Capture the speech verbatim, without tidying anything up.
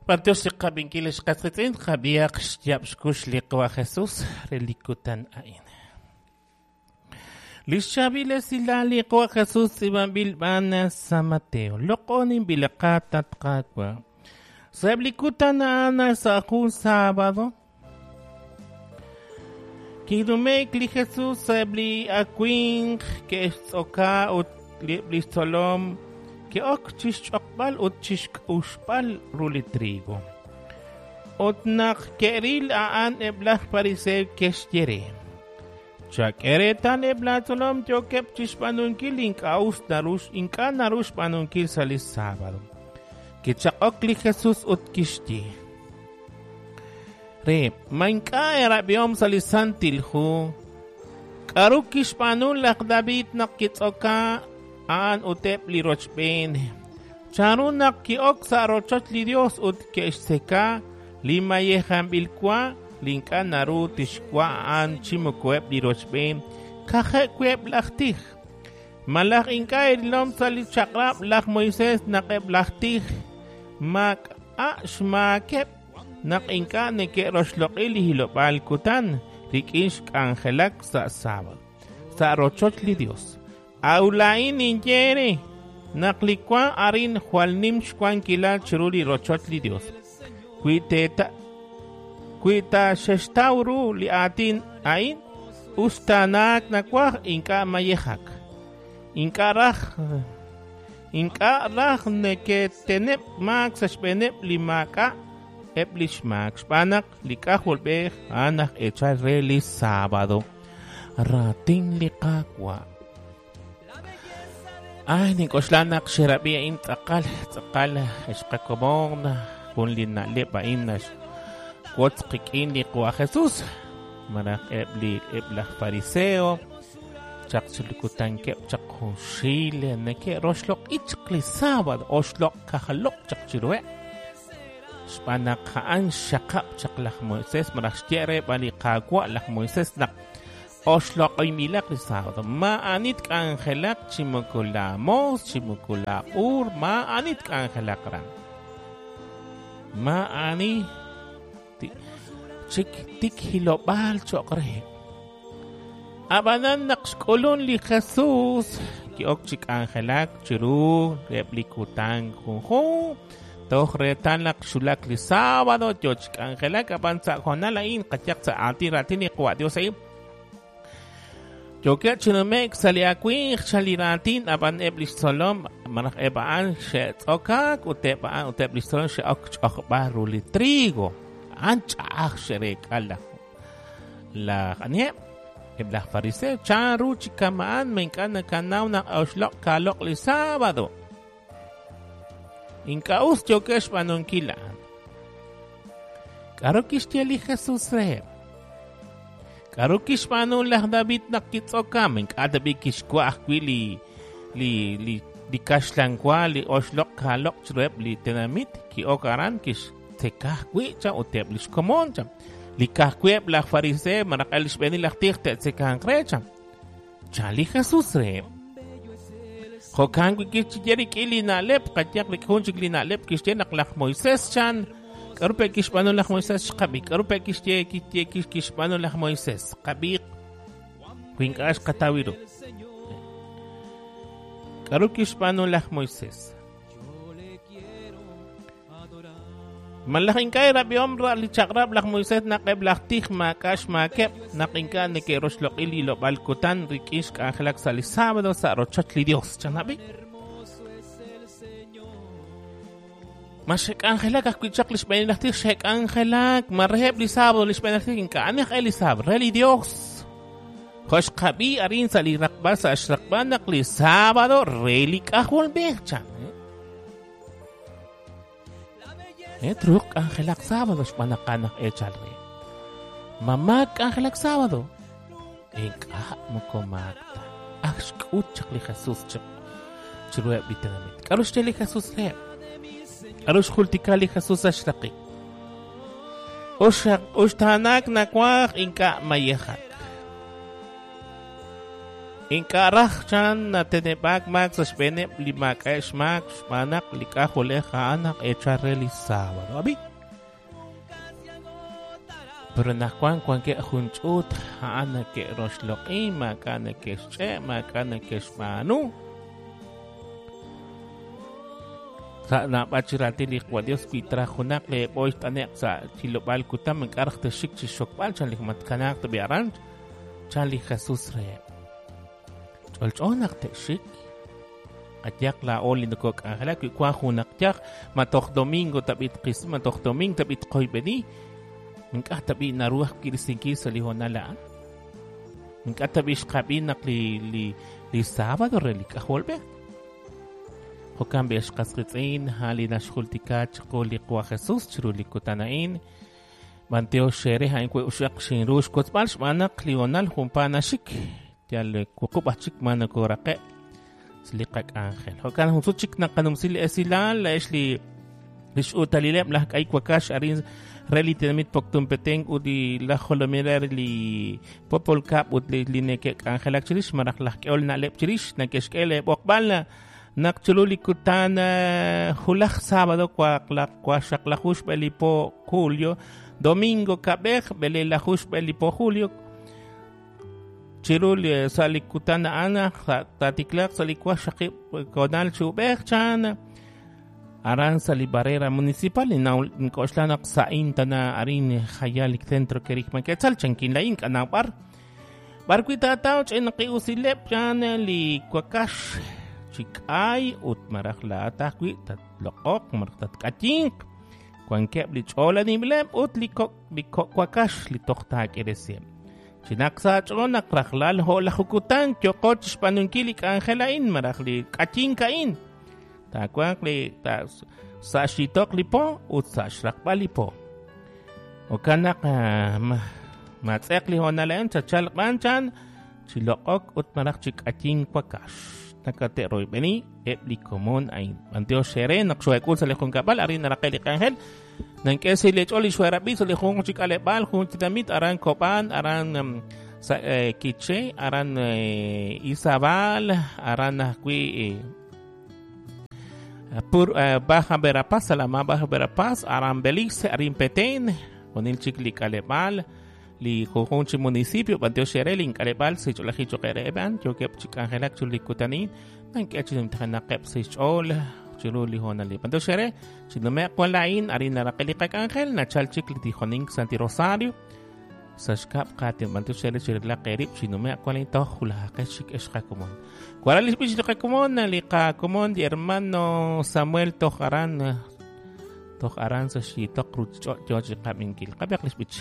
B'antiox li qab'inkil li xqasqitz'in qab'ihaq xyab' xkux li Qawa' Jesus re li kutan a'in. Li xchaab'il esilal li Qawa' Jesus tz'iib'anb'il b'an San Mateo. Loq'oninb'il qatat Qaawa'. Sa'eb' li kutan a'an sa' jun sábado kinume'k li Jesus sa'eb' li awinq ke'xtz'oka ut eb' li xtzolom ke'ok chixch'oqb'al ut chixk'uxb'al ru li trigo. Ut naq ke'ril a'an eb' laj fariseo ke'xye re: Chak'e reetal eb' laatzolom yookeb' chixb'aanunkil ink'a' us naru ink'a' naru xb'aanunkil sa' li sábado. Kichaq'ok li Jesus ut kixye re: Ma ink'a' erab'ihom sa' li Santil Hu k'aru kixb'aanu laj David naq kitz'oka a'an ut eb' li rochb'een? Chanru naq ki'ok sa' rochoch li Dios ut ke'xtzeka li mayejanb'il wa li ink'a' naru tixwa a'an chi moko eb' li rochb'een ka'ajeb' wi' eb' laj tij? Malaj ink'a' erilom sa' li chaq'rab' laj Moisés naq eb' laj tij maak'a' xmaakeb' naq ink'a' neke'roxloq'i li hilob'aal kutan rik'in xk'anjelak sa' sábado sa' rochoch li Dios? A'ut laa'in ninye eere naq li wa arin jwal nim xwankilal chiru li rochoch li Dios. Wi teeta wi ta xextaw ru li aatin a'in, us taanaak nawaj ink'a' mayejak. Ink'a' raj ink'a' raj neketeneb' maak sa' xb'eeneb' li maak'a' eb' li xmaak xb'aan naq li K'ajolb'ej a'an aj eechal re li sábado. Raatin li Qaawa'. Ay, nink'oxla naq xerab'i a'in tz'aqal tz'aqal xqakomon jun li na'leb' a'in naxwotz qik'in li Qawa' Jesus malaj eb' li eb' laj fariseo chaq chilukutankeb' chaq junxil neke'roxloq'i chaq li sábado oxloq' kajloq' chaq chiruheb' xb'aan naq a'an xxaqab' chaq laj Moisés malaj xye re b'an li Qaawa' laj Moisés naq oxloq'inb'ilaq li sábado. Maa'ani tk'anjelaq chi moko la moos chi moko la b'uur maa'ani tk'anjelaq ran. Maa'ani chik tik hilob'aal cho'q reheb'. Ab'anan naq xk'ulun li Jesus ki'ok chi k'anjelak chiru eb' li kutan junjun toj reetal naq xulak li sábado yo chi k'anjelak ab'an sa' hoonal a'in qayaq sa' aatin raatin li Qawa' Dios a'in yookeb' chi nume'k sa' li awinq chan li raatin ab'an eb' li xtzolom malaj eb' a'an xe'tz'okaak ut eb' a'an ut eb' li xtzolom xe'ok ch'ojb'al ru li trigo. A'an ch'a'aj xe'reek'a laj laj aniheb' eb' laj fariseo chanru chi kama'an ma ink'a' nakanaw naq oxloq' kaaloq' li sábado. Ink'a' us yookeb' xb'aanunkil a'an. K'aru kixye li Jesus reheb'? K'aru kixb'aanu laj David naq kitz'oka? Ma ink'a' tab'i' kixwa' ajwi' li li li li kaxlan wa li oxloq' kaaloq' chiruheb' li tenamit ki'ok aran kixtzeka ajwi' chan ut eb' li xkomon chan. Li ka'ajwi' eb' laj fariseo malaj li xb'eenil laj tij te'tzekanq re chan. Chan li Jesus reheb'. Jo'kan wi' kixye rik'in li na'leb' qayaq rik'in jun chik li na'leb' kixye naq laj Moisés chan k'aru pe' kixb'aanu laj Moisés xqab'i k'aru pe' kixye kixye kixb'aanu laj Moisés qab'i wi ink'a' xqataw ru. K'aru kixb'aanu laj Moisés? Malaj ink'a' erab'ihom li chaq'rab' laj Moisés naq eb' laj tij maak'a' xmaakeb' naq ink'a' neke'roxloq'i li hilob'aal kutan rik'in xk'anjelak sa' li sábado sa' rochoch li Dios. Chanab'i? Ma xe'k'anjelak ajwi' chaq li xb'eenil laj tij xe'k'anjelak ma reheb' li sábado li xb'eenil laj tij ink'a' ani aj e li sábado re li Dios. Jo' xqab'i arin sa' li raqb'al sa' xraqb'al naq li sábado re li K'ajolb'ej chan. Eh, truuq k'anjelak sábado xb'aan naq a'an aj eechal re. Ma maak k'anjelak sábado? Ink'a' moko maak ta. Ak xk'ut chaq li Jesus chaq chiruheb' li tenamit. K'aru xye li Jesus reheb'? K'aru xjultika li Jesus sa' xraqik? Uxtaanaak nawaj ink'a' mayejak. Ink'a' raj chan nateneb'aak maak sa' xb'eeneb' li maak'a'eb' xmaak xb'aan naq li k'ajolej a'an naq eechal re li sábado. Ab'i. Pero naq wan wankeb' jun ch'uut a'an nake'roxloq'i, maak'a' neke'xch'e', maak'a' neke'xb'aanu. Sa' naab'al chi raatin li Qwa Dios wi traj junaq leeb'oy t'ane'q sa' chilob'aal kutan ink'a' raj texik chi xokb'al chan li matkanaaq tab'i aran chan li Jesús reheb'. Ch'olch'o naq te'xik. Qayaq laa'o li nokok'anjelak wi wan junaq yaj ma toj domingo tab'i tqis ma toj domingo tab'i tqoyb'eni ink'a' tab'i naru ajwi' risinkil sa' li hoonal a'an. Ink'a' tab'i xqab'i naq li li li sábado re li k'ajolb'ej. Jo'kan b'i xqas qiitz'in a'an li naxjultika chiqu li Qwa Jesús chiru li kutan a'in. B'antiox xere a'in wi uxaq xinru xkotzb'al xb'aan naq li hoonal junpa naxik. Yal wuqub' aj chik ma nokoraqe' sa' li qak'anjel. Jo'kan jun sut chik naqanumsi li esilal la'ex li li x'uutalileb' laj k'ay wakax arin re li tinamit Poptún Petén ut li laj jolominel re li Popol Kab ut li li neke'k'anjelak chirix malaj laj k'ehol na'leb' chirix neke'xk'e leeb'oqb'al naq chiru li kutan julaj sábado waqxaqlaju xb'e li po julio domingo kab'ej b'elelaju xb'e li po julio chiru li sa' li kutan a'an taatiklaq sa' li waqxaqib' konal chi ub'ej chan aran sa' li barrera municipal nk'oxla naq sa'in tana arin jayal li centro kerikman Quetzal chankin la'in k'anaw b'ar b'ar wi' taataw ch'inqi'usileb' chan li wakax chi k'ay ut malaj laa'at ajwi' tatloq'oq malaj tatk'ayinq wankeb' li ch'olanib'leb' ut li kok' li kok' wakax li toj taak'iresiheb'. Chinaq sa' ch'ool naq rajlal jo'laju kutan yoqo chixb'aanunkil li k'anjel a'in malaj li k'ayink a'in. Taawanq li ta sa' xyitoq li po ut sa' xraqb'al li po. Jo'kan naq matz'eq li hoonal a'in chachalq b'an chan chi loq'ok ut malaj chi k'ayink wakax. Nakate'royb'eni eb' li komon a'in. B'antiox xere naq xoek'ul sa' li junkab'al arin naraqe li k'anjel. Nank'e si li ch'ool li xoerab'i sa' li jun chi k'aleb'aal jun tinamit aran Cobán, aran sa' Quiché, aran Izabal, aran ajwi' Pur Baja Verapaz, Salamá Baja Verapaz, aran Belice, arin Petén, junil chik li k'aleb'aal li junjun chi municipio b'antiox xere li ink'aleb'aal sa' ch'oolajil choqereb'an yookeb' chi k'anjelak chiru li kutanin nank'e chi numtajenaqeb' sa' xch'ool chiru li hoonal li b'antiox xere chi nume'q wan la'in arin naraqe li qak'anjel nachal chik li tijonink Santi Rosario sa' xkab' qaatin b'antiox xere chirilaq eerib' chi nume'q wan la'in toj julajaqex chik ex qakomon. Waral li xb'ix li qakomon li qakomon li hermano Samuel toj aran toj aran sa' xyitoq ruchich'och' yoo chi qab'inkil qab'eq li xb'ich.